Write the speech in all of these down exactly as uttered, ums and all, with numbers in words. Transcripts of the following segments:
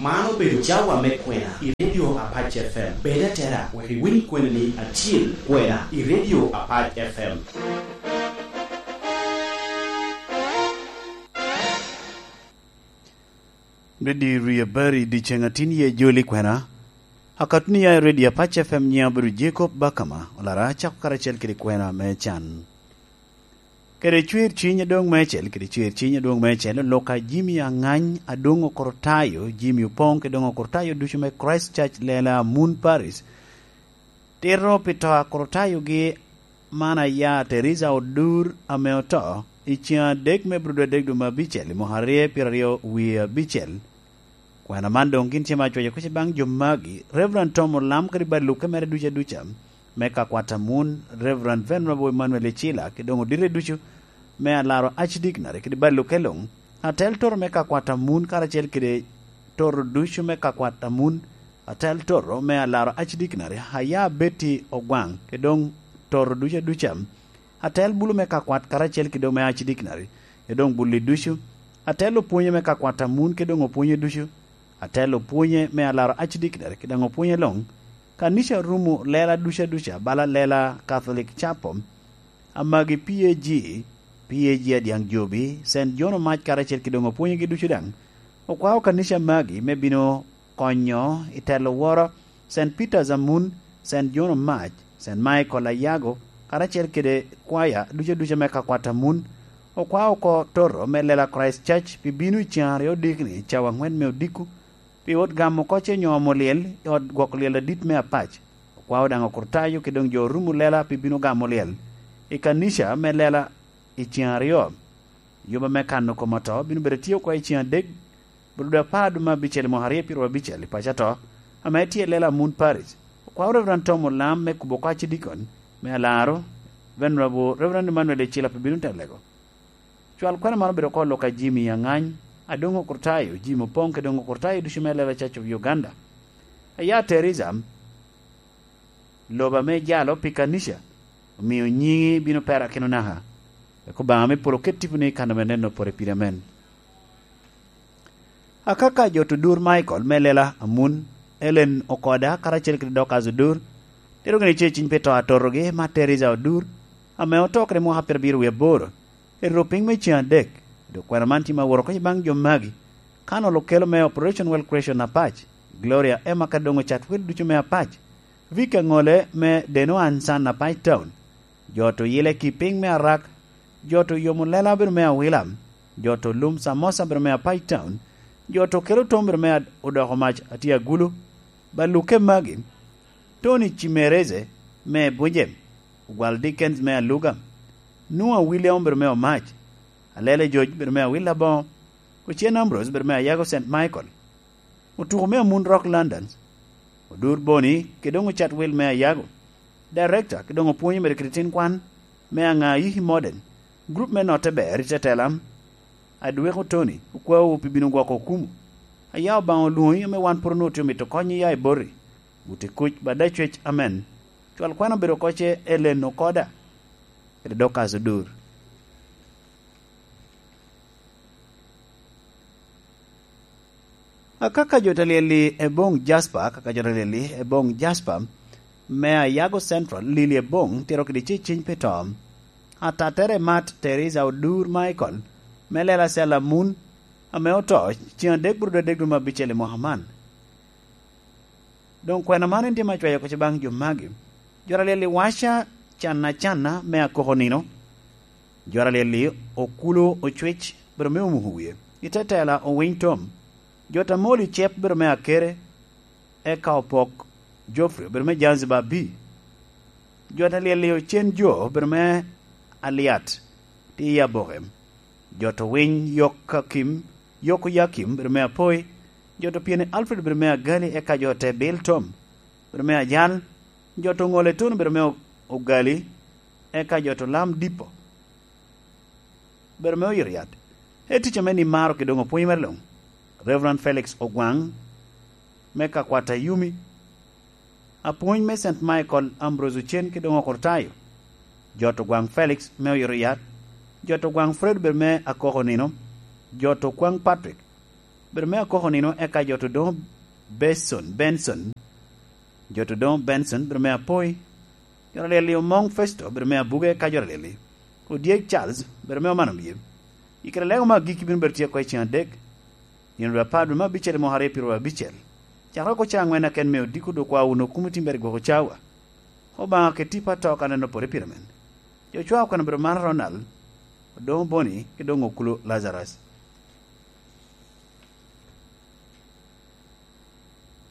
Man obedo cawa me kwena i Radio Apac F M. Bed atera wek iwiny kwenani acil, kwena i Radio Apac F M. Redi Ria Bari, dyeceŋ atin ye joli kwena. Akatuni ya i Radio Apac F M, nyiŋa obedo Jacob Bakama, olara acako karacel kede kwena me can. Kede cwer ciny adwoŋ meicel, kede cwer ciny adwoŋ meicel, Luka Jimmy Aŋany, Adwoŋ Okototayo, Jimmy Opoŋ, kede Okototayo ducu me Christ Church, Lela Moon Parish. Tito pi to a Okototayogi man aya Teresa Odur ame oto i ceŋ adek me Abril adek dwe me abicel i mwaka aryo pyeraryo wie abicel. Kwena man doŋ gin tye me acwaco kuc baŋ jo magi, Reverend Tom Olam kede baluke mere ducu aduca me ka kwat a Mun, Reverend Venerable Emmanuel Icila, kede doŋ odite ducu me alaro Archdignary kede baluke luŋ, atel toro me ka kwat a Mun karacel kede toro ducu me ka kwat a Mun, atel toro me alaro Archdignary, aya Betty Ogwaŋ, kede doŋ toro ducu aduca, atel bulu me ka kwat karacel kede doŋ me Archdignary, kede doŋ bulli ducu, atel opwonye me ka kwat a Mun kede doŋ opwonye ducu, atel opwonye me alaro Archdignary kede doŋ opwonye luŋ, kanica rumo lela ducu aduca, bala lela Catholic Chapel, amagi P A G, P A G Adyaŋ Jobi, Saint John Omac karacel kede doŋ opwonyegi ducu daŋ, okwao kanica magi me bino konyo i telo woro, Saint Peter's Amun, Saint John Omac, Saint Michael Ayago, karacel kede kwaya ducu aduca me ka kwat a Mun, okwao oko toro me lela Christ Church pi bino i ceŋ aryo odikni, cawa aŋwen me odiko, pi ot gamo koc onyo omo lyel i ot gwoko lyel adit me Apac. Okwao daŋ Okototayo kede doŋ jo orumo lela pi bino gamo lyel i kanica me lela i ceŋ aryo. Yuba me kano kom oto bino bedo tye oko i ceŋ adek, Abril apar dwe me abicel i mwaka aryo pyeraryo abicel i paco ato, ame tye i lela Moon Parish. Okwao Reverend Tom Olam me kubo oko Archdeacon me alaro, Venerable Reverend Emmanuel Icila pi bino telego. Cwal kwena man obedo oko Luka Jimmy Aŋany, Adwoŋ Okototayo, Jimmy Opoŋ kede doŋ Okototayo ducu me lela Church of Uganda. Aya Teresa, lobo ame ijalo pi kanica, omio nyiŋi bino perakino naka. Wek Obaŋa me polo ket tiponi i kano me neno pore piri, amen. Akaka jo to Odur Michael me lela Amun, Ellen Okoda karacel kede Dorcas Odur, tero gini ce ciny pi to a totogi, ma Teresa Odur, ame oto kede mwaka pyerabiro wie aboro, eruto piny me ceŋ adek. Dok kwena man tye ma woro oko i baŋ jo magi, Colonel Okello me Operation Well Creation Apac, Gloria Emma kede doŋ ocat wel ducu me Apac, Vicky Aŋole me Deno Ansan Apac Town, jo to Yile Kiping me Arak, jo to Yomo Lela bedo me Awila, jo to Lum Samosa bedo me Apac Town, jo to Kelo Tom bedo me Ad-, Odoko Mac Atye Agulu, Baluke magi, Tony Cimereze me Bunjem, Ogwal Dickens me Aluga, Noah William bedo me Omac, Alele George bedo me Awila Boŋo, Ocen Ambrose bedo me Ayago Saint Michael, Otuko me Amun Rock London, Odur Boni kede doŋ ocat wel me Ayago, Director kede doŋ opwonyo medo kede tin kwan me Aŋa Ayiki Modern, Group me Notte Ber i Tetela, Adweko Tony, okwaowu pi bino gwoko okumu. Aya Obaŋa olwoŋi ame wan pwod onwoŋo tye omito kony iya i boti. Buti kuc, bada cwec, amen. Cwal kwan obedo oko ce Ellen Okoda, kede Dorcas Odur. Akaka jo ta lyel-li eboŋ Jasper, akaka jo ta lyel-li eboŋ Jasper, me Ayago Central, lili eboŋ, tiro kede ce ciny pi to. Atattere mat Teresa Odur Michael, me lela Sela Mun, ame oto, ceŋ adek buro dwe adek dwe me abicel i mwaka man. Doŋ kwena man en tye me acwayo kuc baŋ jo magi. Jo ta lyel-li waca Canna Canna me Akoko Nino. Jo ta lyel-li Okulo Ocwec bedo me Omuko Wie. I te tela Owiny Tom. Jo ta moli Cep bedo me Akere, eka Opok Geoffrey bedo me Zanzibar B. Jo ta lyel-li Ocen Jo bedo me Aliat, tye i Aboke. Jo to Winy Yok Akim, Yok Oyakim bedo me Apoi. Jo to Pyeni Alfred bedo me Agali, eka jo te Bil Tom bedo me Ajal. Jo to Ŋole Tun bedo me O-, Ogali, eka jo to Lam Dipo bedo me Oyoriat. E tic ame ni maro kede doŋ opwony mere luŋ. Reverend Felix Ogwaŋ me Kakwata Yumi, apwony me Saint Michael Ambrose Ocen kede doŋ Okototayo. Jo to Gwaŋ Felix me Oyoriat. Jo to Gwaŋ Fred bedo me Akoko Nino. Jo to Kwaŋ Patrick bedo me akoko nino, eka jo to doŋ Benson, Benson, jo to doŋ Benson, bedo me apoi, jo to alyel-li Omoŋ Festo, bedo me abuge, eka jo to alyel-li Odyek Charles, bedo me oman omye. I kare lego me agikki bino bedo tye oko i ceŋ adek, nino dwe apar dwe me abicel i mwaka aryo pyeraryo abicel. Cakere oko ceŋ aŋwen aken me odiko dok kwa wunu okumi tim beri gwoko cawa. Obaŋa ket tipo ato ka neno pore pire men. Jo cwa okwena bedo man Ronald, Odoŋo Boni, ki doŋ Okulu Lazarus.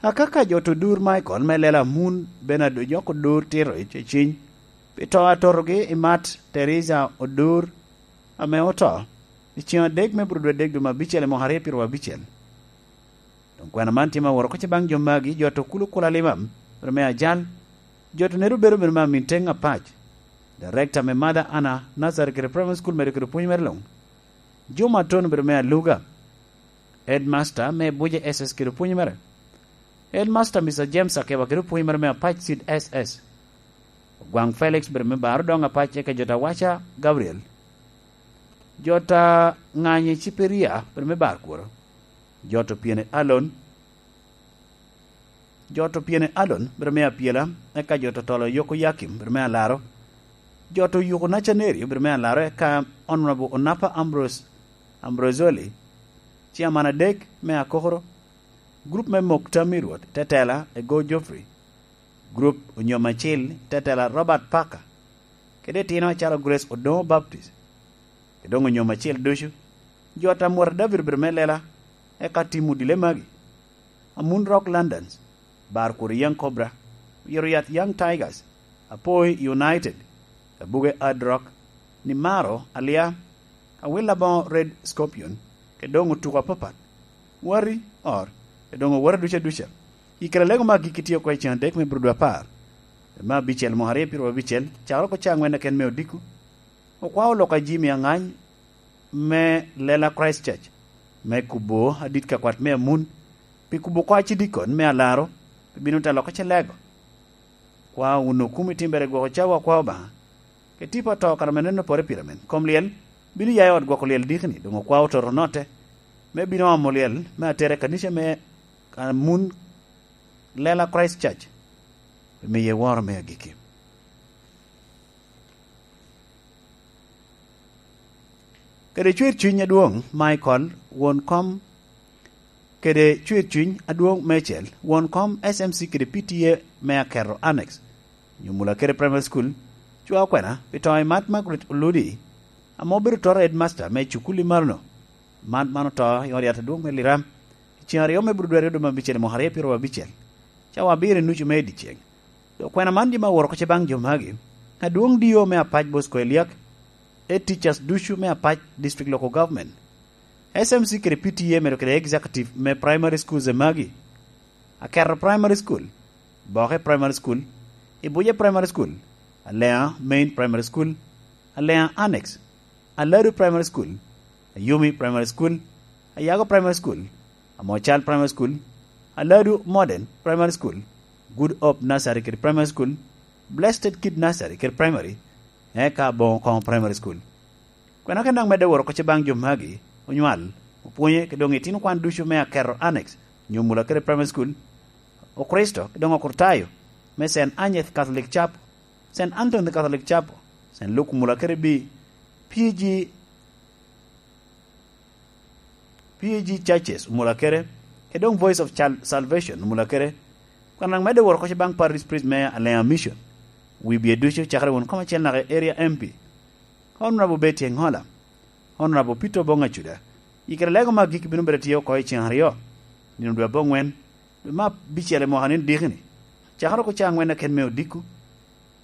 Akaka jo to dur Michael me lela Amun Bernard ojoko dur tito i ceciny pi to atotogi i mat Teresa Odur ame oto i ceŋ adek me bur dwe adek dwe me abicel i mwaka aryo pyeraryo abicel. Doŋ kwena man tye ma woro oko ce baŋ jo magi, jo to Okulu Kula Limam, bedo me ajal, jo to Neru bedo bedo me amin teŋ apac, director me Mother Anna Nursery kede Primary School medo kede pwony mere luŋ, Juma Atun bedo me aluga, headmaster me Buje S S kede pwony mere, headmaster Mister James Akeba kede pwony mere me apac Cid S S, Ogwaŋ Felix bedo me bar odoŋ apac eka jo to Awaca Gabriel, jo to Ŋanyi Ciperia bedo me bar kuro, jo to Pyene Alon, jo to Pyene Alon bedo me apyela, eka jo to Tolo Yoko Yakim bedo me alaro, jo to Yuko Nacanerio bedo me alaro, eka Honorable Onapa Ambrose, Ambrosoli, ciaman adek me akokoro, gurup me mok tam i Rwot, tetela Ego Geoffrey, gurup Onyom Acil, tetela Robert Parker, kede itino acalo Grace Odoŋo Baptist, kede doŋ Onyom Acil ducu, jo ata Mwota David obedo me lela, eka tim odile magi, Amun Rock Londons, bar kuro Young Cobra, oyito yat Young Tigers, Apoi United, Kabuge Hard Rock, Nimaro Alia, Awil Aboŋo Red Scorpion, kede doŋ otuko apapat, wati, or, kede doŋ owati duca duca. I kare lego me agikki tye oko i ceŋ adek me bur dwe apar, dwe me abicel mwaka aryo pyeraryo abicel, cakere oko caŋ wen aken me odiko, okwao lok a Jimmy Aŋany me lela Christchurch, me kubo adit ka kwat me Amun, pi kubo kwac i dikon me alaro, pi bino te loko ce lego. Kwa wun okumi timbere gwoko cawa kwa Obaŋa, ke tipo ato kara me neno pore pire men. Kom lyel bino ya i ot gwoko lyel dikni, doŋ okwa ototo note, me bino omo lyel me atere kanica me Amun lela Christchurch, pi miye woro me agikki. Kede cwer cuny adwoŋ, Michael, won kom, kede cwer cuny adwoŋ mecel, won kom S M C kede P T A me Akerro Annex, nyo Mulakere Primary School, cwa okwena pi to i Mat Margaret Oludi, ame obedo toto headmaster me cukul i Marono. Mat man oto i ot yat adwoŋ me Liram, i ceŋ aryo me bur dwe aryo dwe me abicel i mwaka aryo pyeraryo abicel, cawa abiro i nucu me i dyeceŋ. Dok kwena man dim aworo oko ce baŋ jo magi, adwoŋ D O me Apac Bosco Eliak, e teachers ducu me Apac District Local Government, S M C kede P T A medo kede executive me primary schools e magi, Akerro Primary School, Boke Primary School, Ibuje Primary School, Aleŋa Main Primary School, Aleŋa Annex, Aladu Primary School, Ayumi Primary School, Ayago Primary School, Amocal Primary School, Aladu Modern Primary School, Good Hope Nursery kede Primary School, Blessed Kid Nursery kede Primary, eka Boŋo Koŋo Primary School. Kwena ken daŋ medde woro oko ce baŋ jo magi, onywal, opwonye, kede doŋ itino kwan ducu me Akerro Annex, nyo Mulakere Primary School, Okricito, kede doŋ Okritayo, me Saint Agnes Catholic Chapel, Saint Anthony Catholic Chapel, Saint Luke Mulakere B, P G, P A G Churches Omulakere, kede doŋ Voice of Chal-, Salvation Omulakere, kwena daŋ medde woro oko ce baŋ Parish Priest me Aleŋa Mission, wibye ducu, cakere won kom acel naka Area M P, Honorable Betty Engola, Honorable Peter Obong Acuda, i kare lego me agikki bino bedo tye oko i ceŋ aryo, nino dwe aboŋwen, dwe me abicel i mwaka ni dikini, cakere oko caŋ wen aken me odiko,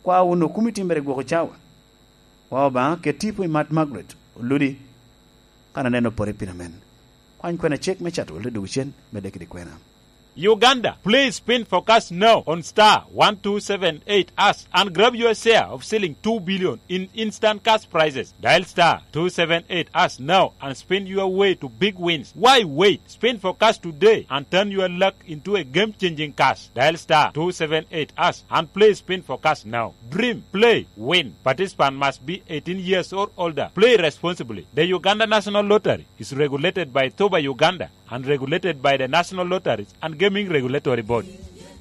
kwa wun okumi timbere gwoko cawa. Kwa Obaŋa ket tipo i Mat Margaret Oludi, kan aneno pore piny amen. Kwany kwena cek me cato welle dogocen, medde kede kwena. Uganda, please spin for cash now on star one two seven eight hash and grab your share of selling two billion in instant cash prizes. Dial star two seven eight hash now and spin your way to big wins. Why wait? Spin for cash today and turn your luck into a game-changing cash. Dial star two seven eight hash and play spin for cash now. Dream, play, win. Participant must be eighteen years or older. Play responsibly. The Uganda National Lottery is regulated by Toba Uganda and regulated by the National Lotteries and Gaming Regulatory Board.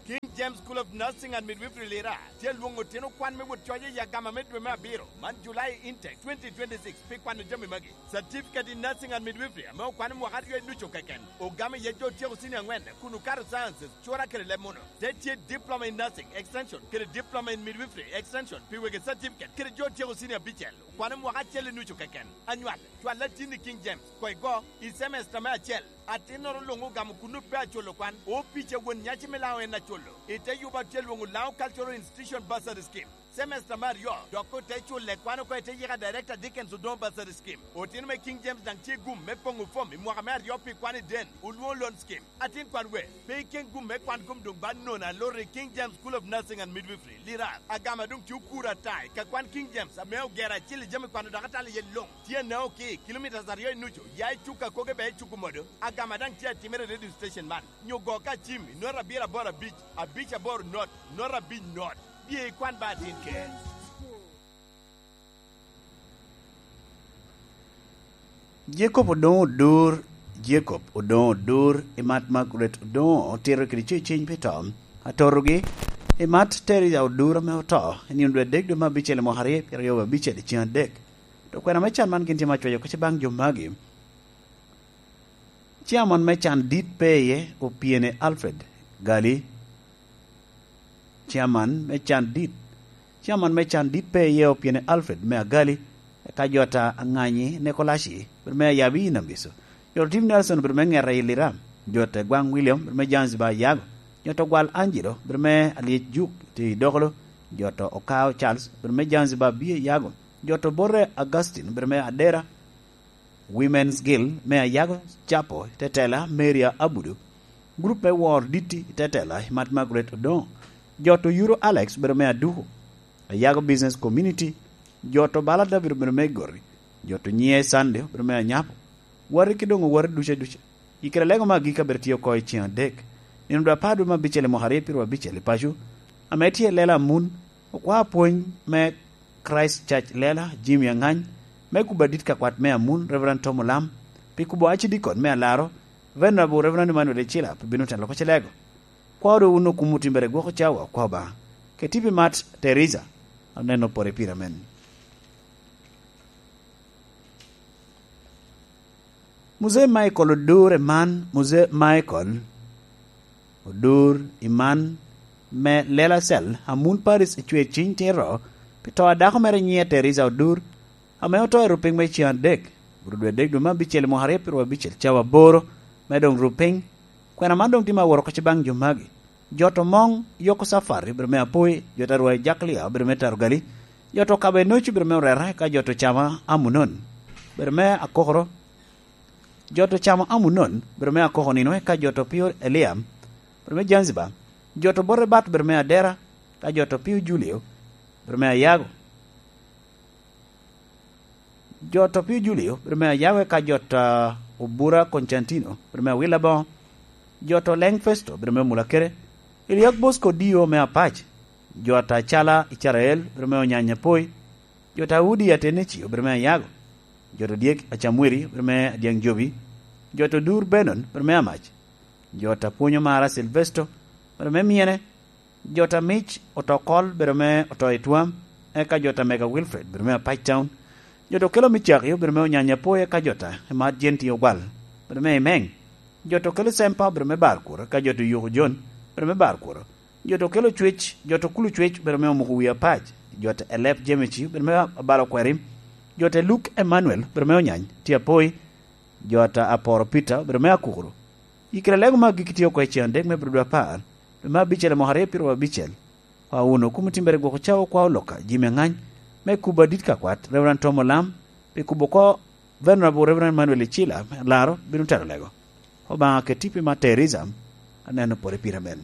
King James School of Nursing and Midwifery Lira tye lwoŋo otino kwan me wot coc i agama me dwe me abiro man, July intake twenty twenty-six, pi kwano jami magi: Certificate in Nursing and Midwifery ame okwano mwaka aryo i ducu keken, ogamo iye jo otyeko senior angwen kun okato sciences, cura kede leb muno. Te tye Diploma in Nursing Extension kede Diploma in Midwifery Extension pi wegi certificate kede jo otyeko senior abicel, okwano mwaka acel i nucu keken. Anywal, cwal atin i King James, koigo, i semester me acel. Atinnoro luŋ ogamo kun ope aculo kwan, opic a won nyaci me Laŋo en aculo. I te yuba tye lwoŋo Laŋo Cultural Institution Bursary Scheme. Semester me aryo, dok ote culle kwan oko i te yika Director Dickens Odongo Bursary Scheme. Otino me King James daŋ tye gum me poŋo fom i mwaka me aryo pi kwan i den, olwoŋo loan scheme. Atin kwan we, pe iken gum me kwan kom doŋ ba nono aloro i King James School of Nursing and Midwifery, Lirar. Agama doŋ tye okuro ata i ka kwan King James ame ogero acil i jami kwano dok atalo iye luŋ. Tye anao ki kilomita aryo i nucu, ya i Cuka Koge bea i Cuku Modo. Agama daŋ tye atimere i radio station man, nyo go ka cim i not abiro aboro abic, abic aboro not, not abic not. Bye ikwan ba atin ker. Jacob Odoŋo Odur, Jacob Odoŋo Odur, i mat Margaret Odoŋo otito kede ceceny pi to, atotogi i mat Teresa Odur ame oto i nino dwe adek dwe me abicel i mwaka aryo pyeraryo abicel i cen adek. To kwena me can man gin tye ma cwayo kec baŋ jo magi. Ciaman me can dit pe iye, Opyene Alfred Gali. Ciaman me can dit, ciaman me can dit pe iye, Opyene Alfred me Agali, eka jota Aŋanyi Nekolaci, bed me Ayabi i Nambiso. Jota Tim Nelson, bed me Ŋeta i Lira. Jota Gwaŋ William, bed me Zanzibar Yago. Jota Gwal Angelo, bed me Alyec Juk tye i Dokolo. Jota Okao Charles, bed me Zanzibar Bie Yago. Jota Obote Augustine, bed me Adera. Women's Guild me Ayago Capo, tetela Maria Abudu, gurup me Wor Diti, tetela Mat Margaret Odoŋo, jot Oyuro Alex obedo me Aduku, Ayago Business Community, jot Obala David obedo me Gori, jot Nyiye Sunday obedo me Anyapo, wati ki doŋ owati ducu aduca. I kare lego me agikki abedo tye oko i ceŋ adek, nino dwe apar dwe me abicel i mwaka aryo pyeraryo abicel i paco, ame tye i lela Amun, okwa apwony me Christ Church Lela, Jimmy Aŋany, me kubo adit ka kwat me Amun, Reverend Tom Olam, pi kubo acidikon me Alaro, Venerable Reverend Emmanuel Icila pi bino telo kocilego. Kwa ru wun okum otimbere gwoko cawa, kwa Obaŋa. Keti pi mat Teresa, aneno pore pira men. Muzee Michael Odur i man, Muzee Michael Odur i man me Lela Cell, Amun Paris, ecwe ciny tiro pi to a dako mere nyiŋe Teresa Odur, ame oto i rupiny me ceŋ adek, but dwe adek dwe me abicel i mwaka aryo pyeraryo abicel, cawa aboro, me doŋ rupiny. Kwena man doŋ tye ma aworo kec baŋ jo magi. Jot Omoŋ Yoko Safari obedo me Apoi, jot Arwai Jaklia obedo me Tarogali, jot Okabo Enoci obedo me Orera, eka jot Ocama Amunon obedo me Akokoro. Jot Ocama Amunon obedo me Akoko nino, eka jot Opio Eliam obedo me Zanzibar, jot Obote Bat obedo me Adera, eka jot Opio Julio obedo me Ayago. Jot Opio Julio obedo me Ayago, eka jot, ah, Obura Constantino obedo me Awila Boŋo, jot Oleŋ Festo obedo me Mulakere, Eliak Bosco Dio me Apac, jot Acala Icarael obedo me Onyanya Poi, jot Audi Ateneci obedo me Ayago, jot Odyek Acamwiri obedo me Adyaŋ Jobi, jot Odur Benon obedo me Amac, jot Apwonyo Mara Silvesto obedo me Myene, jot Amic Otokol obedo me Oto i Twam, eka jot Amega Wilfred obedo me Apac Town, jot Okelo Micaki obedo me Onyanya Poi, eka jot Emat Jenti Ogwal obedo me Imeŋ, jot Okelo Sempa obedo me Barkuro, eka jot Yuku Jon obedo me Barkuro, jot Okelo Cwec, jot Okulu Cwec obedo me Omuko Wi Apac, jot Elep Jemeci obedo me Abalo Kwerim, jot Eluk Emmanuel obedo me Onyany tye Apoi, jot Aporo Peter obedo me Akukuru. I kare lego me agikki tye oko i ceŋ adek me Abril dwe apar, dwe me abicel i mwaka aryo pyeraryo abicel. Kwa wunu, okum otimbere gwoko cawa okwa Oloka, Jimmy Aŋany, me kubo adit ka kwat, Reverend Tom Olam, pi kubo oko Venerable Reverend Emmanuel Icila, me Alaro, bino tero lego. Obaŋa ket i pi ma Teresa, aneno pwod i pira men.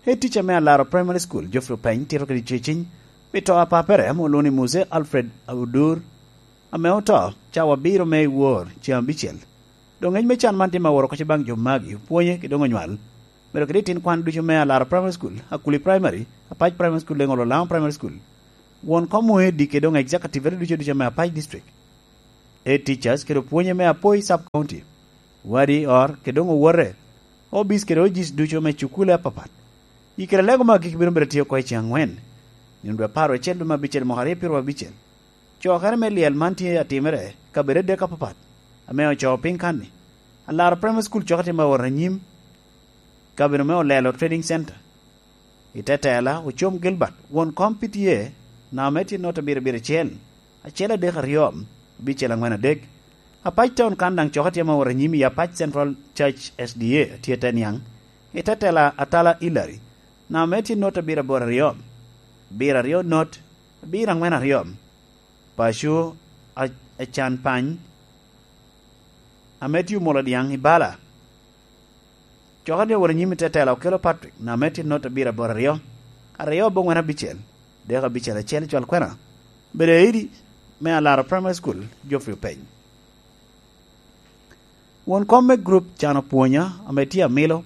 Head teacher me Alaro Primary School, Geoffrey Openy, tito kede ceciny pi to a papere ame olwoŋo ni Muse Alfred Odur, ame oto cawa abiro me i wor ceŋ abicel. Doŋ ngec me can man tye ma woro oko baŋ jo magi, opwonye kede doŋ onywal. Medo kede itin kwan ducu me Alaro Primary School, Akuli Primary, Apac Primary School, Leŋolo Laŋo Primary School. Won kom oedi kede doŋ executive ducu ducu me Apac District. Head teachers kede opwonye me Apoi Sub County, wadi, or, kede doŋ owote, obis kede ojis ducu me cukule apapat. I kare lego me agikki bino bedo tye oko i ceŋ aŋwen, nino dwe apar wecel dwe me abicel mwaka aryo pyeraryo abicel. Cokere me lyel man tye atimere i kabedo adek apapat, ame ocoo piny kan-ni. Alaro Primary School coke tye ma wot anyim, kabedo me Olelo Trading Center. I te tela, Ocom Gilbert, won kom P T A, namba me tye not abiro abiro acel, acel adek aryo, abicel aŋwen adek. Apac Town kan daŋ coke tye ma wot anyim i Apac Central Church S D A tye te niaŋ. I te tela, Atala Hillary, namba me tye not abiro aboro aryo, abiro aryo not, abiro aŋwen aryo. Paco a, Acan Pany, ame tye omolo dyaŋ i bala, coke ni owot anyim i te tela, Okelo Patrick, namba me tye not abiro aboro aryo, aryo aboŋwen abicel, dek abicel acel, cwal kwena. Bedo aidi me Alaro Primary School, Geoffrey Openy. Won kom me group Can Opwonya, ame tye amilo,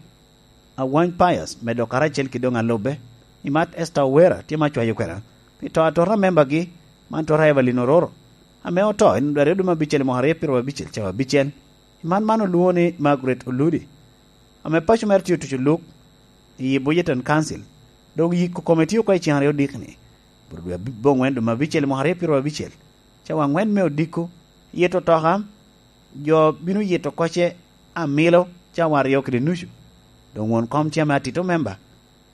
Awany Pius, medo karacel kede doŋ alubbe, i mat Esther Owera, tye ma cwayo kwena pi to atota a membagi, man tota Evelyn Ororo, ame oto i nino dwe aryo dwe me abicel i mwaka aryo pyeraryo abicel, cawa abicel. I man man olwoŋo ni Margaret Oludi, ame paco mere tye otuco luk i Budgeton Council, dok yiko kome tye oko i ceŋ aryo dikni, bot dwe aboŋwen dwe me abicel i mwaka aryo pyeraryo abicel, cawa aŋwen me odiko, yito otoka, jo bino yito kocce amilo cawa aryo kede nucu. Doŋ won kom tye ame atito memba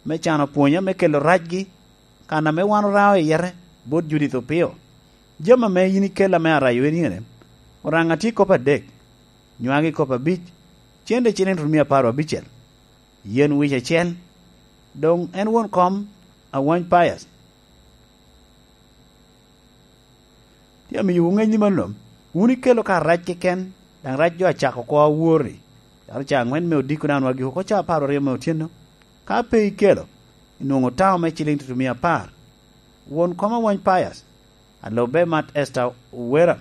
me Can Opwonya me kelo racgi, kan ame wan orao i yete, bot Judith Opio. Jami ame yin ikella me arayo en ene, Oraŋa tye kop adek, nywagi kop abic, cente ciliŋ tutumia apar abicel, yen wic acel. Doŋ en won kom Awany Pius. Tye amiyowu ŋec ni mano, wun ikelo ka rac keken, daŋ rac jo acako oko awor-ri, calo ca aŋwen me odiko daŋ onwagiko oko ca apar aryo me otyeno. Ka pe ikelo, inwoŋo taŋo me ciliŋ tutumia apar. Won kom Awany Pius, alubbe mat Esther Owera,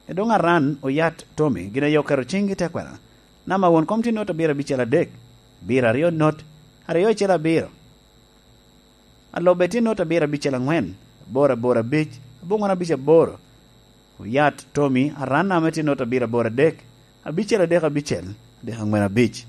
edoŋ Aran Oyat Tommy gin aye oketo ciŋgi te kwena. Namba won kom tye not abiro abicel adek, abiro aryo not, aryo acel abiro. Alubbe tye not abiro abicel aŋwen, aboro aboro abic, aboŋwen abic aboro. Oyat Tommy, Aran ame tye not abiro aboro adek, abicel adek abicel, adek aŋwen abic.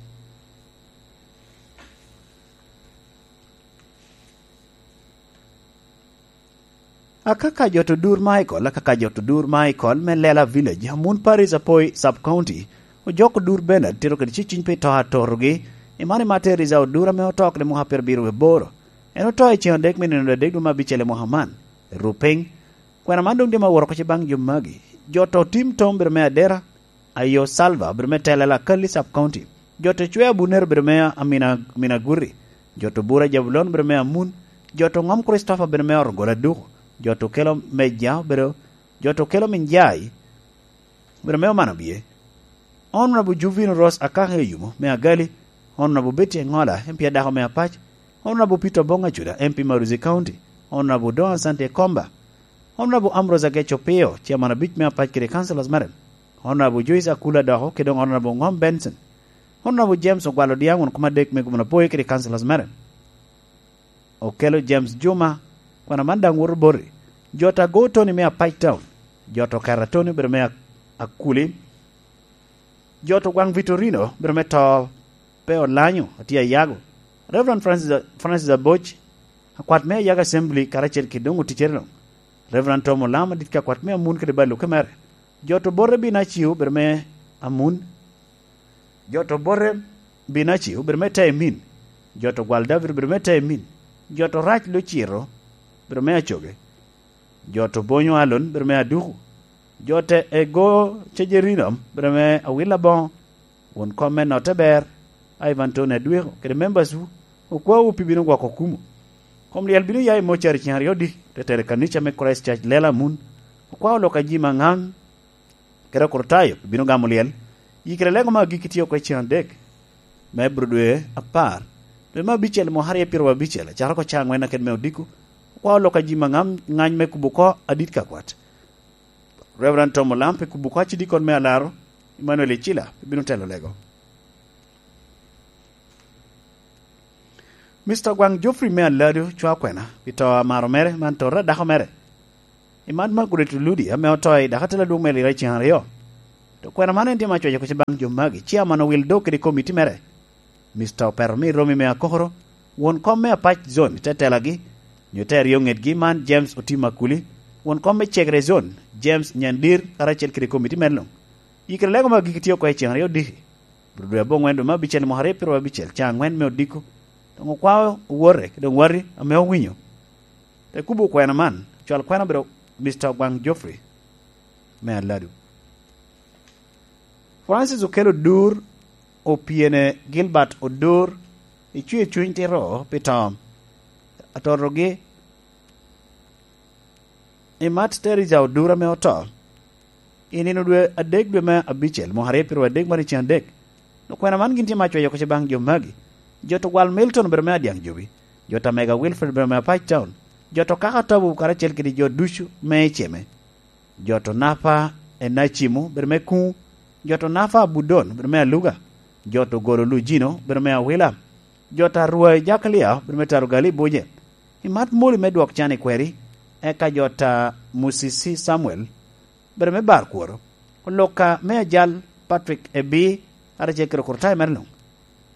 Akaka Jot Odur Michael, Akaka Jot Odur Michael me Lela Village, Amun Parish, Apoi Sub County, ojoko Odur Bernard tito kede ceciny pi to atotogi, i man i Martin Rizal Odur ame oto kede mwaka pyerabiro wie aboro. En oto i ceŋ adek me nino adek dwe me abicel i mwaka man. Rupiny, kwena man doŋ tye ma woro oko baŋ jo magi. Jot Otim Tom bedo me Adera, Ayo Salva obedo me telo Akali Sub County. Jot Ocwe Abunero obedo me Amina, Amina Gurri. Jot Obura Jabulon obedo me Amun. Jot Oŋom Christopher obedo me Orogola Duku. Jot Okelo Meja obedo, Jot Okelo Minjai obedo me Omana Bie. Honorable Juvino Ross Akaka Eyumo me Agali. Honorable Betty Engola, M P adako me Apac. Honorable Peter Obong Acuda, M P Maruzi County. Honorable Don Asante Komba. Honorable Ambrose Ageco Pio, Chairman abic me Apac kede Councilors mere. Honorable Joyce Akula Doko, kede Honorable Ngom Benson. Honorable James Ogwal Odiaŋ, won kom adek me Gomna Poi kede Councilors mere. Okelo James Juma, kwena man daŋ woto boti. Jot Ago Tony me Apac Town. Jot Okera Tony obedo me Ak-, Akuli. Jot Ogwaŋ Vitorino obedo me to pe olanyo, atye ayago. Reverend Francis, Francis Aboc, akwat me Ayago Assembly, karacel kede doŋ oticere luŋ. Reverend Tom Olam, adit ka akwat me Amun kede baluke mere. Jot Obote Binaciu obedo me Amun. Jot Obote Binaciu obedo me Teemin. Jot Ogwal David obedo me Teemin. Jot Orac Luciro obedo me Acoge. Jot Obonyo Alon obedo me Aduku. Jot Ego Cejerino obedo me Awil Aboŋo. Won kom me Notte Ber, Ivan Tony Adweko, kede members wu, okwawu pi bino gwoko kumo. Kom lyel bino ya i mocari ceŋ aryo dik, te tero i kanica me Christ Church Lela Amun. Okwao lok a ji Maŋaŋ, Kede Okrutayo bino gamo lyel. Yikere lego me agikki tye oko i cen adek me Abril dwe apar, dwe me abicel mwaka aryo pyeraryo abicel, acakere oko cawa angwen aked me odiko, okwao lok a ji ma ngam-, ngany me kubo oko adit ka kwat. Reverend Tom Olam pi kubo oko acidikon me alaro, Emmanuel Icila pi bino telo lego. Mister Ogwaŋ Geoffrey me Aladu cwao kwena pi to amaro mere man tota dako mere. I man Margaret Oludi ame oto i dako atela adwoŋ me Lira i cen aryo. To kwena man en tye ma cwec oko baŋ jo magi, ciaman Owil Dok kede komiti mere. Mister Opeto me Romi me Akokoro, won kom me Apac Zone i te telagi, nyo te aryo ŋetgi man James Otim Akuli, won kom me Cegre Zone, James Nyandir, karacel kede komiti mere luŋ. Yikere lego me agikki tye oko i cen aryo diki. Bro dwe abongwen dwe me abicel mwaka aryo pyeraryo abicel, ca angwen me odiko, doŋ okwao owote, doŋ wati ame owinyo. Te kubo kwena man, cwal kwena obedo Mister Ogwaŋ Geoffrey me Aladu. Francis Okello Odur, opyene Gilbert Odur, icwio cuny tito pi to atotogi. I mat Teresa Odur ame oto, i nino dwe adek dwe me abicel, mwaka aryo pyeraryo adek mar i cen adek. Okwena man gin tye ma cweyo oko baŋ jo magi. Jo to gwal Milton obedo me Adyaŋ Jobi, jo to Mega Wilfred obedo me Apac Town, jo to Kaka Tabu karacel kede jo ducu me Eceme, jo to Napa Enacimo obedo me Kuŋ, jo to Napa Abudon obedo me Aluga, jo to Golo Lujino obedo me Awila, jo to Arwai Jakalia obedo me Tarugali Buje. I mat moli me dwok can i kweri, eka jo to Musisi Samuel obedo me bar kworo, Oloka me Ajal Patrick Ebi, karacel kede Okurtayo mere luŋ,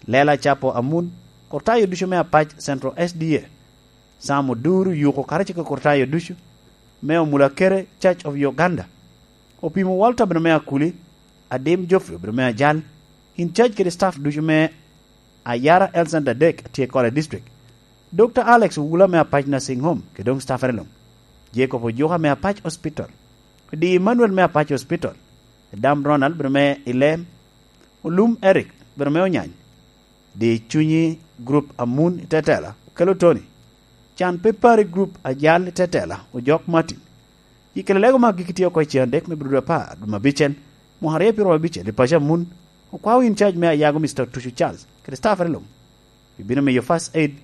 Lela Capo Amun, Okurtayo ducu me Apac Central S D A, Sam Oduru Yuko karacel kede Okurtayo ducu me Omulakere Church of Uganda, Opimo Walter obedo me Akuli, Adim Geoffrey obedo me Ajal, in charge kede staff ducu me Ayara Health Center adek a tye i Kole District, Doctor Alex Owula me Apac Nursing Home kede doŋ staff ere luŋ, Jacob Ojuka me Apac Hospital, Di Emmanuel me Apac Hospital, Dam Ronald obedo me Ilem, Olum Eric obedo me Onyany, Di Cunyi Group Amun i Tetela, Okello Tony, Can Pe Pari Group Ajal i Tetela, Ojok Martin. Yikere lego me agikki tye oko i cen adek me Abril dwe apar, dwe me abicel, mwaka aryo pyeraryo abicel, i paco Amun, okwao in charge me Ayago Mister Tucu Charles, kede staff ere luŋ. Ibino miyo first aid,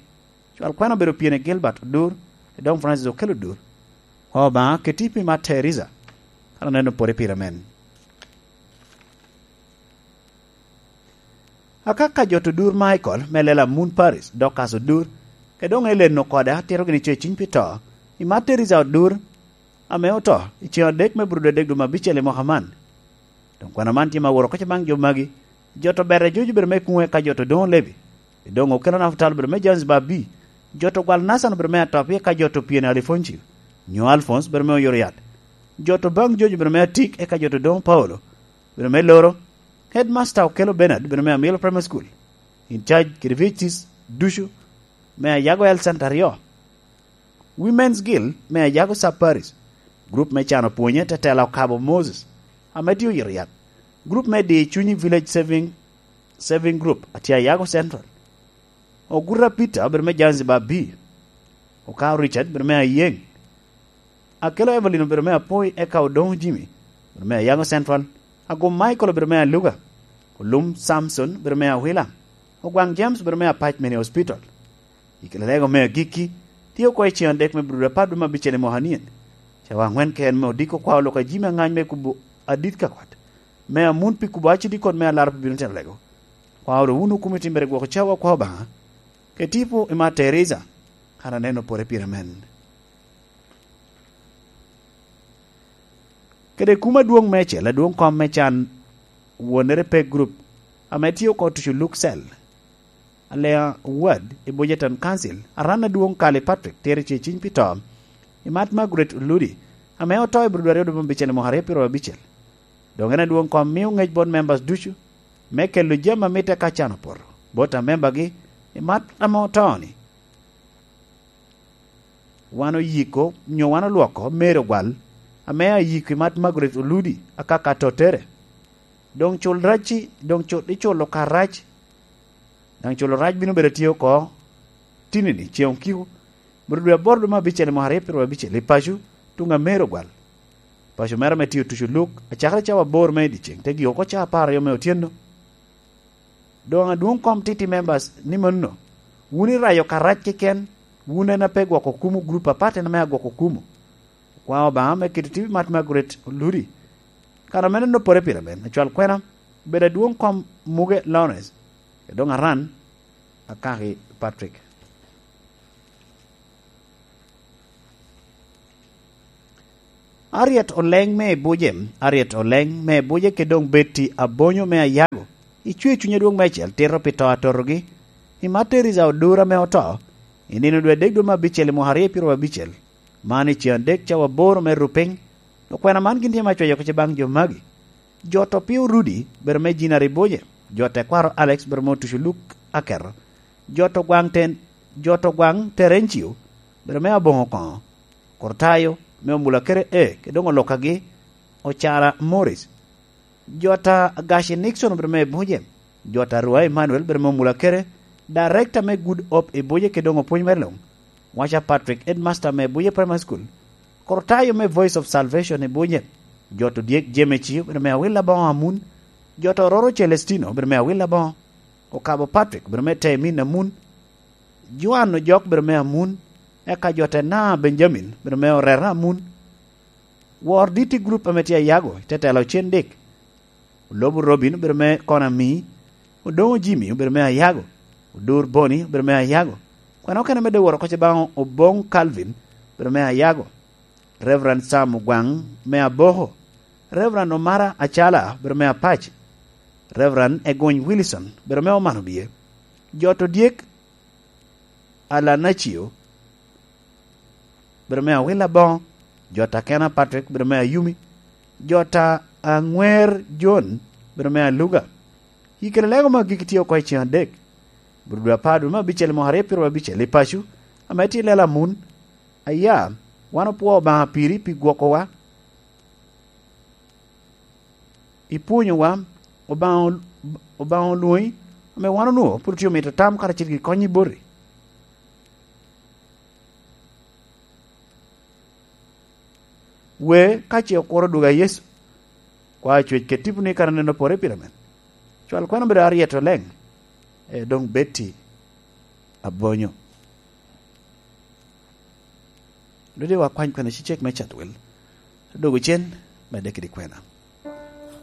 cwal kwena obedo pyene Gilbert Odur, Edong Francis Okello Odur. Kwa Obaŋa, keti pi mat Teresa, kan oneno pore pire men. Akaka jo to Odur Michael me Lela Moon Paris, Dorcas Odur, kede doŋ Ellen Okoda, tito gini co i ciny pi to, i mat Teresa Odur, ame oto, i cen adek me Abril dwe adek dwe me abicel i mwaka man. Doŋ kwena man tye ma woro oko baŋ jo magi, jo to Bere Jojo obedo me Kuŋe ka jo to Doŋo Lebi, i doŋ Okello Nafutal obedo me Jones Babi, jo to Gwal Nathan obedo me Atop, eka jo to Pyene Alifoncio, nyo Alphonse obedo me Oyoro Yat, jo to Baŋ Jojo obedo me Atik, eka jo to Doŋo Paulo obedo me Loro, Headmaster Okello Bernard obedo me Amilo Primary School, in charge kede V H Cs ducu me Ayago Health Center aryo, Women's Guild me Ayago Sub Parish, group me cano pwonye Tetela Okabo Moses, ame tye oyito yat, group me Di Cunyi Village Saving, Saving Group, atye Ayago Central, Oguta Peter obedo me Zanzibar B, Okao Richard obedo me Ayeŋ, Akello Evelyn obedo me Apoi, eka Odoŋo Jimmy obedo me Ayago Central, Agum Michael obedo me Aluga, Olum Samson obedo me Awila, Ogwaŋ James obedo me Apac Mini Hospital. I kare lego me agikki, tye oko i cen adek me Abril apar dwe me abicel i mwaka nien. Cawa aŋwen keken me odiko kwao lok a jami aŋany me kubo adit ka kwat. Me Amun pi kubo acidikon me alaro pi bino telo lego. Kwao ru wun okumi timmere gwoko cawa kwa Obaŋa. Ke tipo i mat Teresa, kan aneno pore pire men. Kede kum adwoŋ mecel, adwoŋ kom me can wonere pe group, ame tye oko tucu Luke Cell, Alea Ward i Boyerton Council, aran adwoŋ Kali Patrick tero ce ciny pi to, i mat Margaret Oludi, ame oto i Abril aryo dwe me abicel i mwaka aryo pyeraryo abicel. Doŋ en adwoŋ kom mio ŋec bot members ducu, me kelo jami a mitte ka can opoto, bot amembagi, i mat ame oto-ni. Wan oyiko, nyo wan olwoko Mary Ogwal, ame ayiko i mat Margaret Oludi, akaka tottere. Doŋ cul racci, doŋ cul, iculo ka rac, daŋ culo rac bino bedo tye oko tinini, ceŋ okiko, Abril dwe aboro dwe me abicel i mwaka aryo pyeraryo abicel, i paco, tuŋ a Mary Ogwal. Paco mere ame tye otuco luk, acakere cawa aboro me i dyeceŋ, te gik oko cawa apar aryo me otyeno. Doŋ adwoŋ kom titi members ni mano, wun irayo karac keken, wun en ape gwoko kumo gurup apat en ame agwoko kumo. Okwaŋ Obaŋa me keto T V Mat Margaret Oludi, kan ame en opore pire men, acwal kwena, obedo adwoŋ kom Muge Lawrence, Edoŋ Aran, Akaki Patrick. Aryet oleŋ me Ebuje, Aryet oleŋ me Ebuje kede doŋ Betty Abonyo me Ayago, icwe cuny adwoŋ meicel tito pi to atotogi. I Martyrs a Odura ame oto, i nino dwe adek dwe me abicel i mwaka aryo i pyeraryo abicel, man i ceŋ adek cawa aboro me rupiny, okwena man gin tye me acweyo oko baŋ jo magi. Jo to pio Rudi, bedo me Jinari Boje, jo tekwaro Alex, bedo me Otuco Luk Aketo, jo to gwaŋ ten, jo to gwaŋ Terencio, bedo me Aboŋo Koŋo, Kortayo, me Omulakere E, kede doŋ Olokagi, Ocara Morris, jo ta Gaci Nixon, bedo me Boje, jo ta Rua Emmanuel, bedo me Omulakere, Director me Good Hope i Boje, kede doŋ opwony me luŋ, Waca Patrick, Headmaster me Boje Primary School, Kortayo me Voice of Salvation i Boje, jo to Dyek Jemeci, bedo me Awil Aboŋo Amun, jo to Roro Celestino, bedo me Awil Aboŋo, Okabo Patrick, bedo me Temin Amun, Joan Ojok, bedo me Amun, eka jo te Na Benjamin, bedo me Orera Amun, Wor Diti Group ame tye Ayago, te telo Cen Dik, Olobo Robin, bedo me Konami, Odoŋo Jimmy, obedo me Ayago, Odur Boni, obedo me Ayago, kwena okene me Doworo Koca baŋ Oboŋ Calvin, obedo me Ayago, Reverend Sam Ogwaŋ, me Aboko, Reverend Omara Acala, obedo me Apac, Reverend Egony Wilson, obedo me Omano Bie, jo to Dyek, Alanacio, bedo me Awil Aboŋo, jo ta Kena Patrick, bedo me Ayumi, jo ta Aŋwer John, bedo me Aluga. I kede lego me agikki tye oko i ceŋ adek, bur dwe apar dwe me abicel i mwaka aryo pyeraryo abicel i paco, ame tye lela Amun. Aya, wan opwoo Obaŋa piri pi gwokowa. Ipwonyowa, Obaŋa, Obaŋa olwoŋi, ame wan onwoŋo pwod otye omito tam karacel kede kony i boti. Wee, ka ce okuro dwogo a Yecu, kwa cwec kede tiponi kara neno pore pire men. Cwal kwena obedo Aryet oleŋ, e, doŋ Betty Abonyo. Dwodi wa kwany kwena cicek me Chatwel. Dogo cen, medde kede kwena.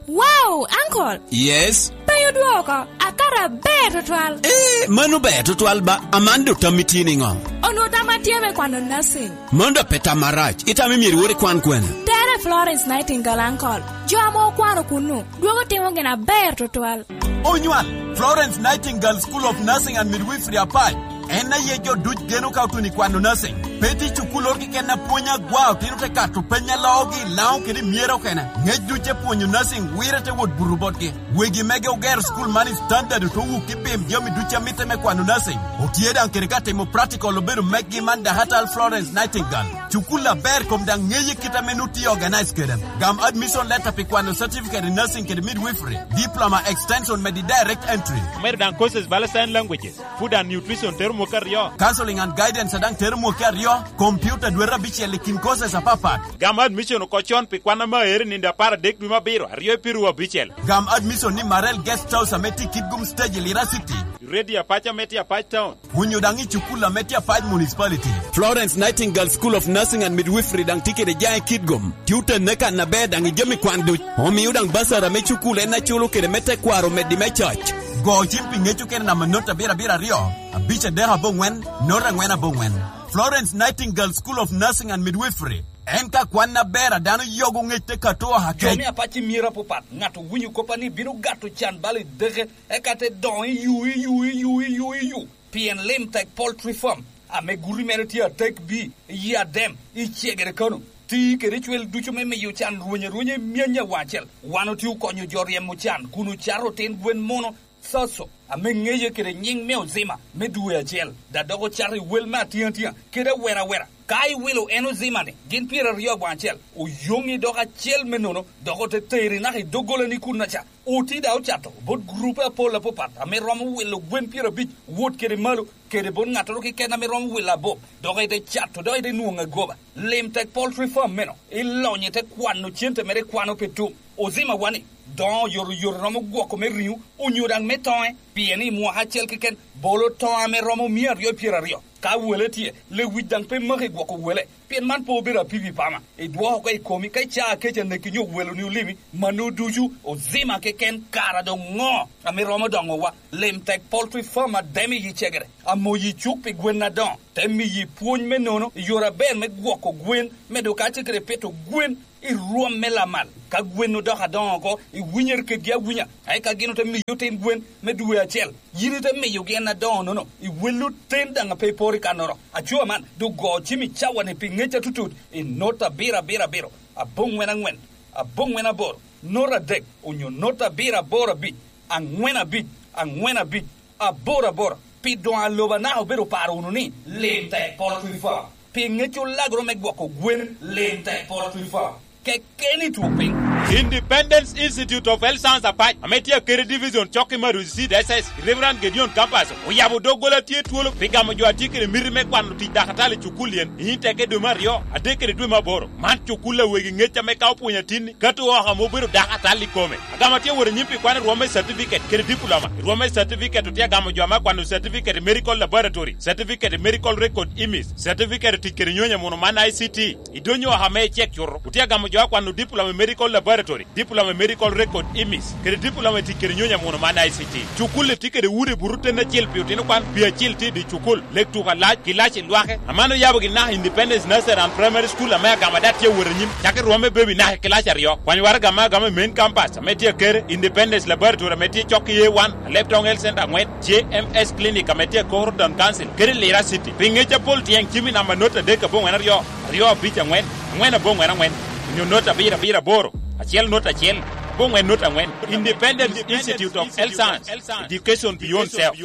Wow, uncle! Yes? Pe odwoko, akato aber tutwal. Eh, mano ber tutwal ba, aman do tammi tye niŋo? Onwo tamma tye me kwano nursing. Mano da pe tam marac, itamo myero iwor ikwan kwene? Tere Florence Nightingale, uncle. Jo ame okwano kunnu, dwogo timo gin aber tutwal. Onywal, Florence Nightingale School of Nursing and Midwifery Apac. En aye jo duc geno ka otuno i kwano nursing. Pe tye cukul oro keken apwony agwa otino te kato peny a loogi i Laŋo kede i Myero okene. Ngec duc te pwonyo nursing wire te wot buto botgi. Wegi mege ogero cukul man i standard oto wuk i pim jami duc a mitte me kwano nursing. Otye daŋ kede ka timo practical obedo meggi man Dahatal Florence Nightingale. Cukul aber kom daŋ ŋeye kit ame nu tye organize kede. Gam admission letter pi kwano certificate in nursing kede midwifery, diploma extension medi direct entry. Omedo daŋ courses bala sign languages, food and nutrition tero mwaka aryo. Counseling and guidance daŋ tero mwaka aryo, computer dwete abicel i kin courses apapat. Gam admission oko con pi kwan ame aero i nino apar adek dwe me abiro, aryo i pyeraryo abicel. Gam admission ni Marel Guest House ame tye i Kitgum Stage i Lira City. Ready Apac ame tye Apac Town. Onyo daŋ i cukul ame tye Apac Municipality. Florence Nightingale School of Nursing and Midwifery daŋ tye kede jaŋ i Kitgum. Tye otenne kan aber daŋ i jami kwan duc. Omio daŋ basara me cukul en aculo kede me tekwaro omeddi me coc. Go cim pi ŋec okene namba not abiro abiro aryo, abic adek aboŋwen, not angwen aboŋwen. Florence Nightingale School of Nursing and Midwifery. En ka kwan aber a dano yogo ŋec te kato oha kec. Jo me Apac i myero apapat, ŋat owinyo koppa ni bino gato can bala i deke, eka te doŋo i yu, i yu, i yu, i yu, i yu. Pien lim tek poultry farm, ame guti mere tye atek bi, i Adem, i Cegere Kano, ti kede cwel ducu me miyo can rweny arwenya i myany awaŋ acel. Wan otye okonyo jo ryemo can kun ocato otin gwen mono, Soso, ame ŋeye kede nyiŋ me Ozima me dwe acel, da dok ocato i wel me atiŋ atiŋa kede awera awera. Ka iwilo en Ozima-ni gin pyeraryo awaŋ acel, oyoŋi dok acel me nono, dok ote teri naka i doggola ni kun aca. Oti da ocato bot gurupe apol apapat ame romo wilo gwen pyerabic wot kede malo, kede bot ŋattoro keken ame romo wilo abup, dok ite cato, dok ite nwoŋo agoba. Lim tek poultry farm meno, ilonyo ite kwano cente mere, ikwano pe tum. Ozima wani, doŋ oyotoyot romo gwoko me riŋo, onyo daŋ me toŋe, pien i mwaka acel keken, bolo toŋ ame romo mia aryo i pyeraryo. Ka wele tye, lewic daŋ pe maki gwoko wele, pien man pe obedo apipi pama. Idwoko oko i komi, ka icaa kec aneki nyo weloni olimi, mano ducu ozima keken. Kara doŋ ŋo ame romo doŋowa? Lim tek poultry farm ademo i cegere, amoyi cuk pi gwen adoŋo, te miyi pwony me nono i yore aber me gwoko gwen, medo kacel kede pito gwen i rwom me lamal. Ka gwen odoko adoŋo oko, iwinyere kedgi awinya, eka gin ote miyi otin gwen me dwe acel. Yin ite miyogi en adoŋo-nono, iwello ten daŋ a pe iporo i kannoro. Aco man, doŋ go cim i cawa-ni pi ŋec atutut, i not abiro abiro abiro, aboŋwen aŋwen, aboŋwen aboro, not adek, onyo not abiro aboro abic, aŋwen abic, aŋwen abic, aboro aboro, pi doŋ aloba naka obedo paro wunu ni, lim tek poultry farm. Pi ŋec olagoro me gwoko gwen, lim tek poultry farm. Kekeni two piny. Independence Institute of Health Science Apac, ame tye Akere Division, cok i Maruzi Seed S S, Reverend Gedeon Campus, oyabo doggola tye twolo pi gamo jo a tye kede miti me kwano tic dakatali i cukul yen, i Inteke dwe me aryo, adek kede dwe me aboro. Man cukul a wegi ŋec ame ka opwonyo atinni, kato oko ame obedo dakatali i kome. Agamo tye wot anyim pi kwano i rwom me certificate kede diploma. I rwom me certificate otye agamo jo ame akwano certificate i medical laboratory, certificate i medical record, imis, certificate i tic kede nyonyo muno man I C T. I dony oko ame icek cuto, otye agamo jo akwano diploma i medical laboratory, diploma i medical record, imis, kede diploma i tic kede nyonyo muno man I C T. Cukul-li tye kede udi buto ten acel pi otino kwan, pi acil tye i dye cukul, lek tuko alac, kilaci lwake. Aman oyabo gin naka Independence Nursery and Primary School ame agamo daŋ tye wot anyim, cako i rwom me baby naka i kilaci aryo. Kwany waraga ame agamo i main campus ame tye Akere, Independence Laboratory ame tye cok i A one, Aleptong Health Center aŋwen, J M S Clinic ame tye Akoko Town Council, kede Lira City. Pi ŋec apol tyeŋ cim i namba not adek aboŋwen aryo, aryo abic aŋwen, aŋwen aboŋwen aŋwen, onyo not abiro abiro aboro, acel not acel, aboŋwen not aŋwen. Independence Institute of Health Science, Education Beyond Self.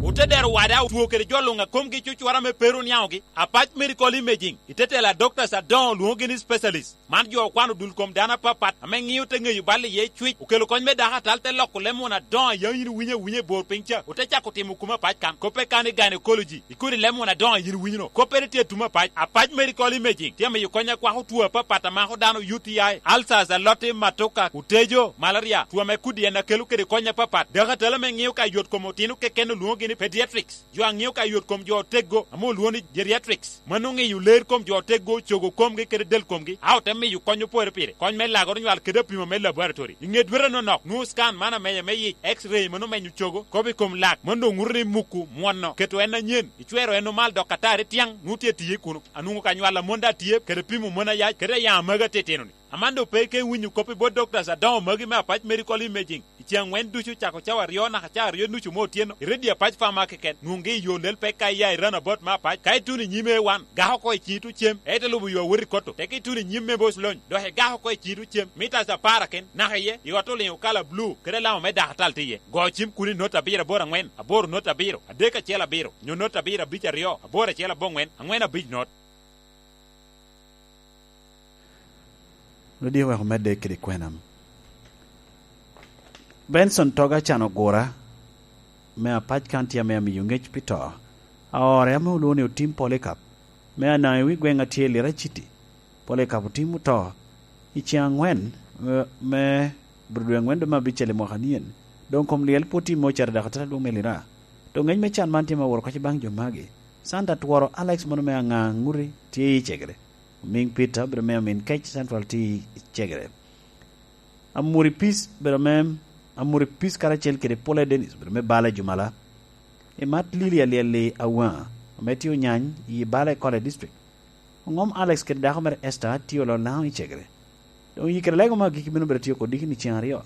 Otedero wada otwo kede jo luŋ a komgi cucwara me pero oniaŋogi. Apac Medical Imaging, i te tela doctors adoŋo lwoŋogi ni specialist. Man jo okwano dul kom dano apapat ame ŋio te ŋeyo bal iye cwic, okelo kony me dako atal, te loko leb muno adoŋo a yam yin iwinyo awunya i bor piny ca, ote cako timo kumo apac kan. Koppe kan i gynecology, i kodi leb muno adoŋo a yin iwinyo-no, koppere tye atum apac. Apac Medical Imaging tye amiyo kony akwako two apapat a mako dano, U T I, ulcers, aloti, matuka, otejo, malaria, two ame kodi en akelo kede kony apapat. Dako atal ame ŋio ka yot kom otino keken olwoŋogi ni pediatrics. Jo a ŋio ka yot kom jo oteggo ame olwoŋo ni geriatrics. Mano ŋeyo ler kom jo oteggo, cogo komgi kede del komgi, a ote miyo kony opore pire, kony me lagoro nywal kede apimo me laboratory. I ŋe dwete nonok, nwoŋo scan man amenya me yic, X-ray mano menyo cogo, kobo i kom lak, mano doŋ ŋuto ni muku mwono, keto en anyen, icwero en omal dok atari tyaŋ, nwoŋo tye tiye kuno. Anwoŋo ka nywal a mon daŋ tye, kede pimo mon ayac, kede ayaŋ amagi atitino-ni. Aman doŋ pe ike iwinyo kop i bot doctors adoŋo magi me Apac Medical Imaging. I ceŋ aŋwen ducu, cako cawa aryo naka cawa aryo nucu me otyeno, i redio Apac Pharma keken, nwoŋgi i yo lel pek ka iya i runabout me Apac. Ka ituno i nyim A one, gako oko i ciŋi tuŋ cem, ite lubo yo awot i Kotto. Teke ituno i nyim me Bos Lony, dok igako oko i ciŋi tuŋ cem, mitas apar aken, naka iye, i ot oliŋo kala bulu, kede alama me dakatal tye iye. Go cim kuno i not abiro aboro aŋwen, aboro not abiro, adek acel abiro, nyo not abiro abic aryo, aboro acel aboŋwen, aŋwen abic not. Rwodi oweko medde kede kwena. Benson Toga can ogura me Apac County ame amiyo ŋec pi to. Aore ame olwoŋo ni Otim Polycarp me Anaŋ i wi gweŋ a tye i Lira City. Polycarp Otim oto i ceŋ aŋwen me, me Obedo dwe aŋwen dwe me abicel i mwaka nien. Doŋ kom lyel pwod tye i mocarri dok otera lwong me Lira. Doŋ ŋec me can man tye me woro kacce baŋ jo magi. Santa tworo Alex mono me Aŋaŋ Ŋuti tye i Cegere. Omiŋ Peter obedo me Omiŋ Kec Central tye i Cegere. Amuri Peace obedo me, Amuri Peace karacel kede Pole Dennis obedo me Bala Jumala. I mat Lili Alyel-li Awaŋa, ame tye Onyany i Bala i Kole District. Oŋom Alex kede dako mere Esther tye olo Laŋo i Cegere. Doŋ yikere lego me agikki bino bedo tye oko diki ni ceŋ aryo.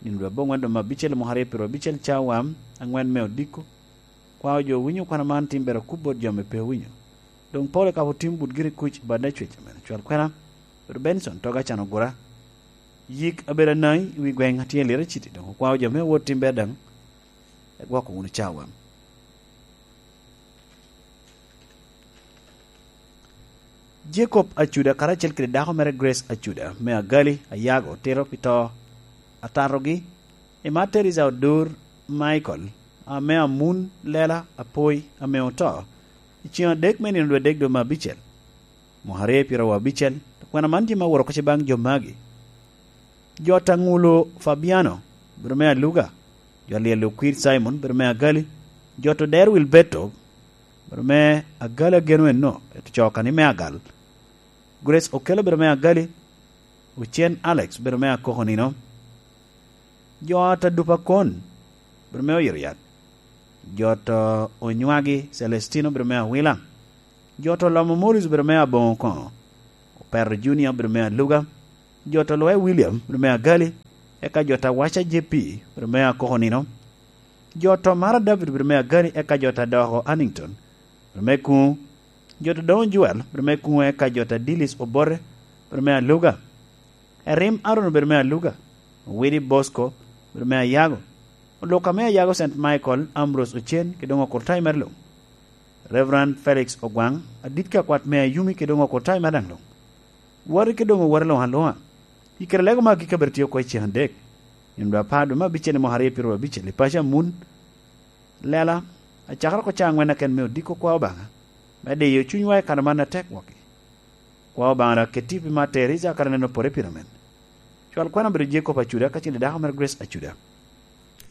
Nino dwe aboŋwen dwe me abicel mwaka aryo pyero abicel cawa aŋwen me odiko. Kwao jo owinyo kwano man tim bero kub bot jo ame pe owinyo. Doŋ Polycarp Otim but giri kuc i bad Nacwec amen ocwal kwena. Rwot Benson Toga can ogura. Yik abedo anaŋi i wi gweŋ a tye i Lira City, doŋ okwao jo me awot tim ber daŋ. Egwoko wunu cawa. Jacob Acuda karacel kede dako mere Grace Acuda me Agali, Ayago, tito pi to atatogi. I mat Teresa Odur, Michael, ame amun lela apoi ame oto, i ceŋ adek me nino dwe adek dwe me abicel, mwaka aryo pyeraryo abicel. Kwena man tye ma woro oko baŋ jo magi: Jot Aŋulo Fabiano, bedo me Aluga. Jot Lyel Okwir Simon, bedo me Agali. Jot Oder Wilberto, bedo me Agali, ageno enno, eto coka ni me Agal. Grace Okello, bedo me Agali. Ocen Alex, bedo me Akoko nino. Jot Adupa Kon, bedo me Oyito Yat. Jot Onywagi Celestino, bedo me Awila. Jot Olomo Morris, bedo me Aboŋo Koŋo. Opeto Junior, bedo me Aluga. Jot Olwe William, bedo me Agali. Eka Jot Awaca J P, bedo me Akoko nino. Jot Omara David, bedo me Agali. Eka Jot Adoko Hannington, bedo me Kuŋu. Jot Odoŋo Joel, bedo me Kuŋu. Eka Jot Adilis Obote, bedo me Aluga. Erim Aaron, bedo me Aluga. Owidi Bosco, bedo me Ayago. Oluka me Ayago Saint Michael, Ambrose Ocen, kede doŋ okurtayi mere luŋ. Reverend Felix Ogwaŋ, adit ka kwat me Ayumi, kede doŋ okurtayi mere daŋ luŋ. Wati kede doŋ owati luŋ aluŋa. I kare lego me agikki abedo tye oko i ceŋ adek, nino dwe apar dwe me abicel i mwaka aryo pyeraryo abicel, i paco amun lela, acakere oko cawa aŋwen aken me odiko kwa Obaŋa, me diyo cunywa i kare man atek wok-ki. Kwa Obaŋa dok ket tipo i Mater Icaka Neno Pore Pyeramen. Cwal kwena obedo Jacob Acuda kacel i dako mere Grace Acuda.